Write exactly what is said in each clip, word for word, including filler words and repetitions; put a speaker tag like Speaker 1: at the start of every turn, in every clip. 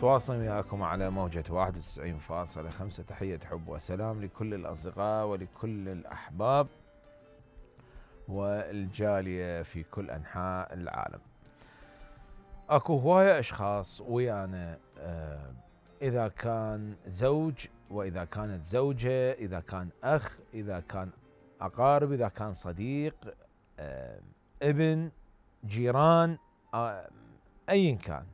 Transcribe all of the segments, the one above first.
Speaker 1: متواصل وياكم على موجة واحد وتسعين فاصلة خمسة. تحية حب وسلام لكل الأصدقاء ولكل الأحباب والجالية في كل أنحاء العالم. أكو هواية أشخاص ويانا، آه إذا كان زوج وإذا كانت زوجة، إذا كان أخ، إذا كان أقارب، إذا كان صديق، آه ابن، جيران، آه أيا كان،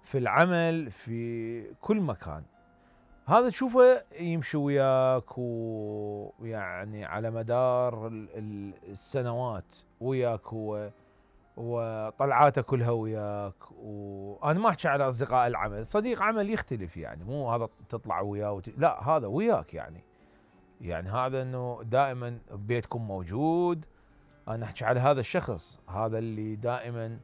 Speaker 1: في العمل، في كل مكان، هذا تشوفه يمشي وياك ويعني على مدار السنوات وياك، هو وطلعاته كلها وياك. وأنا ما أحكي على أصدقاء العمل، صديق عمل يختلف، يعني مو هذا تطلع وياه وت... لا، هذا وياك، يعني يعني هذا أنه دائما ببيتكم موجود. أنا أحكي على هذا الشخص، هذا اللي دائما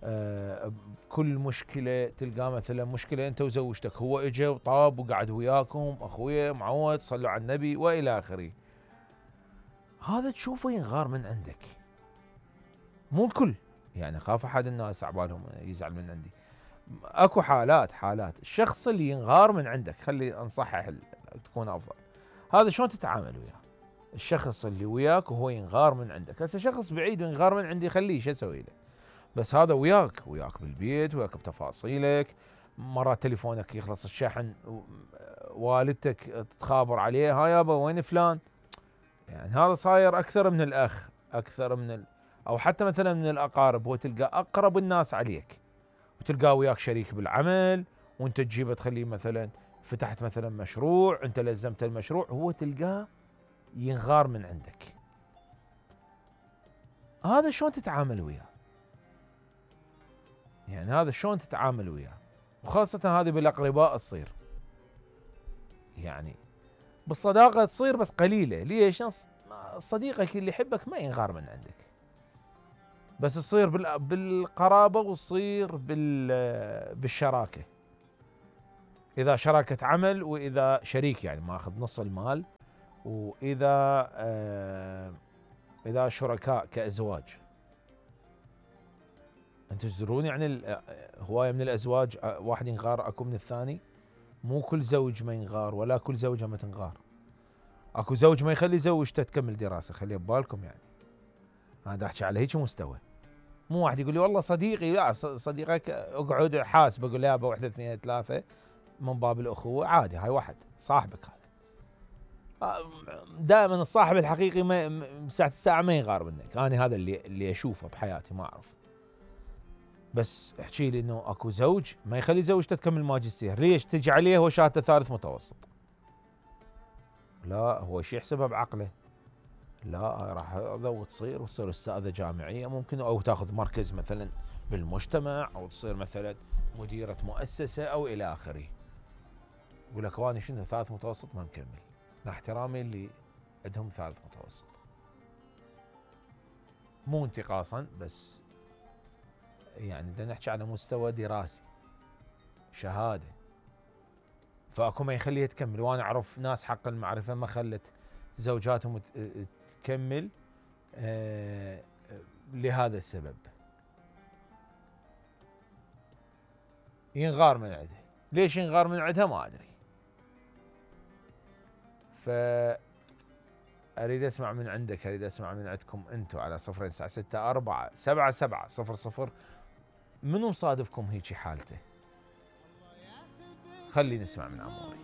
Speaker 1: آه كل مشكلة تلقاه، مثلا مشكلة أنت وزوجتك، هو إجا وطاب وقعد وياكم، أخويا معود، صلوا على النبي وإلى آخره. هذا تشوفه ينغار من عندك، مو الكل، يعني خاف أحد الناس عبالهم يزعل من عندي. أكو حالات حالات الشخص اللي ينغار من عندك، خلي نصحح تكون أفضل. هذا شلون تتعامل وياه؟ الشخص اللي وياك وهو ينغار من عندك. هسه شخص بعيد وينغار من عندي، خليه، شو أسوي له؟ بس هذا وياك وياك بالبيت، وياك بتفاصيلك، مرات تليفونك يخلص الشحن، والدتك تخابر عليه، ها يابا وين فلان؟ يعني هذا صاير أكثر من الأخ، أكثر من ال... أو حتى مثلا من الأقارب. هو تلقى أقرب الناس عليك، وتلقاه وياك شريك بالعمل، وانت تجيبه تخليه مثلا فتحت مثلا مشروع، انت لزمت المشروع، هو تلقاه ينغار من عندك. هذا شلون تتعامل وياه؟ يعني هذا شلون تتعامل وياه؟ وخاصة هذه بالأقرباء تصير، يعني بالصداقة تصير بس قليلة. ليش؟ صديقك اللي يحبك ما ينغار من عندك، بس تصير بالقرابة، وتصير بالشراكة. إذا شراكة عمل، وإذا شريك يعني ماخذ نص المال، وإذا آه إذا شركاء كأزواج. أنتم تدرون يعني هواية من الأزواج واحد ينغار أكو من الثاني. مو كل زوج ما ينغار، ولا كل زوجة ما تنغار. أكو زوج ما يخلي زوجته تكمل دراسة، خليها ببالكم. يعني أنا أحكي على هيك مستوى. مو واحد يقول لي والله صديقي، لا، صديقك اقعد حاسب، اقول له يابا واحدة اثنين ثلاثة من باب الأخوة، عادي، هاي واحد صاحبك هذا. دائما الصاحب الحقيقي ما ساعة الساعة ما يغار منك. أنا هذا اللي اللي أشوفه بحياتي، ما أعرف. بس احكي لي إنه أكو زوج ما يخلي زوجته تكمل ماجستير، ليش؟ تجي عليه هو شهادته ثالث متوسط. لا، هو شي يحسبها بعقله؟ لا، راح هذا وتصير وتصير أستاذة جامعية ممكن، أو تاخذ مركز مثلا بالمجتمع، أو تصير مثلا مديرة مؤسسة أو إلى آخره. يقول لك وأنا شنو ثالث متوسط ما مكمل. مع احترامي اللي عندهم ثالث متوسط، مو انتقاصا، بس يعني بدنا نحكي على مستوى دراسي، شهادة. فأكو ما يخليها تكمل. وأنا أعرف ناس حق المعرفة ما خلت زوجاتهم تكمل آه لهذا السبب. ينغار من عندها. ليش ينغار من عندها ما أدري. فأريد أسمع من عندك، أريد أسمع من عندكم أنتم على صفر تسعة ستة أربعة سبعة سبعة صفر صفر. منو مصادفكم هيجي حالته؟ خلي نسمع من عموري.